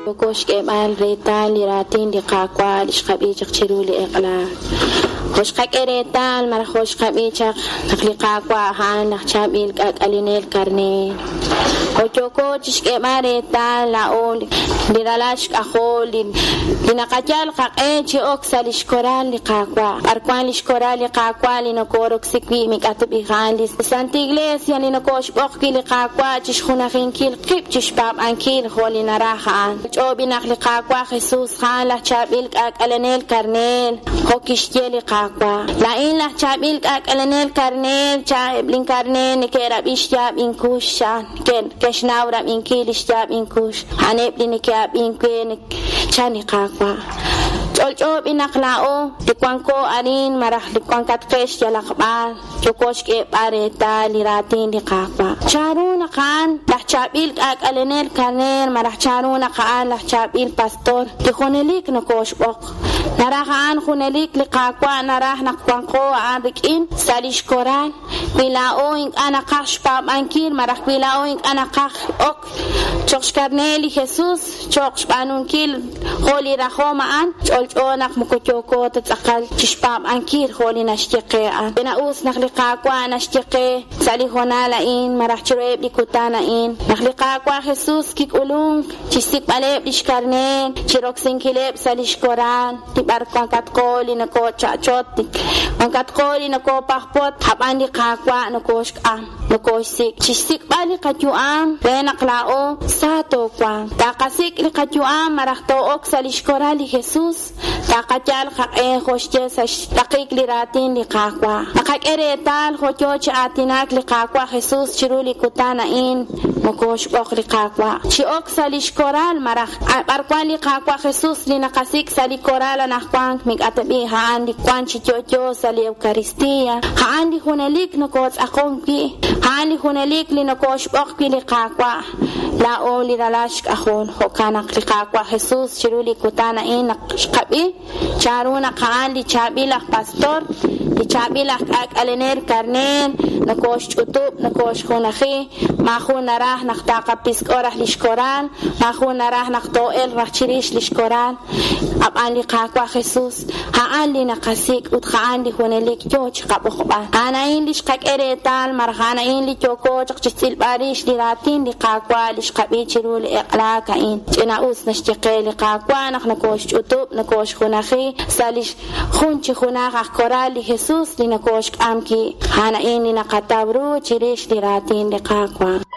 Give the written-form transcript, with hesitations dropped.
Yooko xk'eeb'al reetal li raatin li Qaawa' li xqab'i chaq chiru li eq'la. Jo' xqak'e reetal malaj jo' xqab'i chaq naq li Qaawa' a'an laj chaab'il k'aak'alenel karneer. Jo' yooko chixk'eeb'al reetal laa'o li ralal xk'ajol li li naqayal qaq'e chi ok sa' lix koral li Qaawa'. B'ar wan lix koral li Qaawa' li nokoroksi wi' mik'atb'il a'an li Santa Iglesia li nokoxb'oq wi' li Qaawa' chixjunajinkil qib' chixpaab'ankil jo' li naraj a'an. Ch'oob'i naq li Qaawa' Jesus a'an laj chaab'il k'aak'alenel karneer, jo' kixye li Qaawa'. Laa'in laj chaab'il k'aak'alenel karneer, cha eb' linkarneer neke'rab'i xyaab' inkux, chan ke'xnaw rab'inkil li xyaab' inkux, a'aneb' li neke'ab'ink we, chan li Qaawa'. Ch'olch'o b'i naq laa'o li wanko arin malaj li wankatqex yalaq b'ar, yooko xk'eeb'al reetal li raatin li Qaawa'. Chanru naq a'an laj chaab'il k'aak'alenel karneer malaj chanru naq a'an laj chaab'il pastor li junelik nokooxb'oq. Naraj a'an junelik li Qaawa' naraj naq wanqo a'an rik'in sa' lix koral. Wi laa'o ink'a' naqaj xpaab'ankil malaj wi laa'o ink'a' naqaj ok cho'q xkarneer li Jesus, cho'q xb'aanunkil jo' li rajom a'an, ch'olch'o naq moko yooko ta tz'aqal chixpaab'ankil jo' li naxye qe a'an. Ch'ina-us naq li Qaawa' naxye qe sa' li hoonal a'in malaj chiruheb' li kutan a'in, naq li Qaawa' Jesus kik'ulunk chixsik'b'aleb' lix karneer, chiroksinkileb' sa' lix koral, li b'ar wankatqo li nokocha'chot, wankatqo li nokopajpot, ab'an li Qaawa' nokoxk'am, nokoxsik' chixsik'b'al li qayu'am re naq laa'o sa toowanq. Taqasik' li qayu'am malaj too'ok sa' lix koral li Jesus, taqayal qaq'e jo' xye sa' xtaqik li raatin li Qaawa'. Naqak'e reetal jo' yoo chi aatinak li Qaawa' Jesus chiru li kutan a'in, nokoxb'oq li Qaawa' chi ok sa' lix koral malaj b'ar wan li Qaawa' Jesus li naqasik' sa' li koral anaqwan mik'atb'i a'an li wan chi yo'yo sa' li Eucaristía, a'an li junelik nokotz'aqon wi', a'an li junelik li nokoxb'oq wi' li Qaawa', laa'o li ralal xk'ajol. Jo'kan naq li Qaawa' Jesus chiru li kutan a'in naq xqab'i chanru naq a'an li chaab'il aj pastor, li chaab'il aj k'aak'alenel karneer, nokoxch'utub', nokoxjunaji, maajun naraj naq taqapisk'o raj lix koral, maajun naraj naq too'elq raj chirix lix koral, ab'an li Qaawa' Jesus a'an li naqasik' ut a'an li junelik yoo chiqab'oqb'al. A'an a'in li xqak'e reetal malaj a'an a'in li yooko chaq chixtz'ilb'al rix li raatin li Qaawa' li xqab'i chiru li eq'laak a'in. Ch'ina-us naxye qe li Qaawa' naq nokoxch'utub', nokoxjunaji sa' lix jun chi junaj aj koral li Jesus li nokoxk'am wi'. A'an a'in li naqataw ru chirix li raatin li Qaawa'.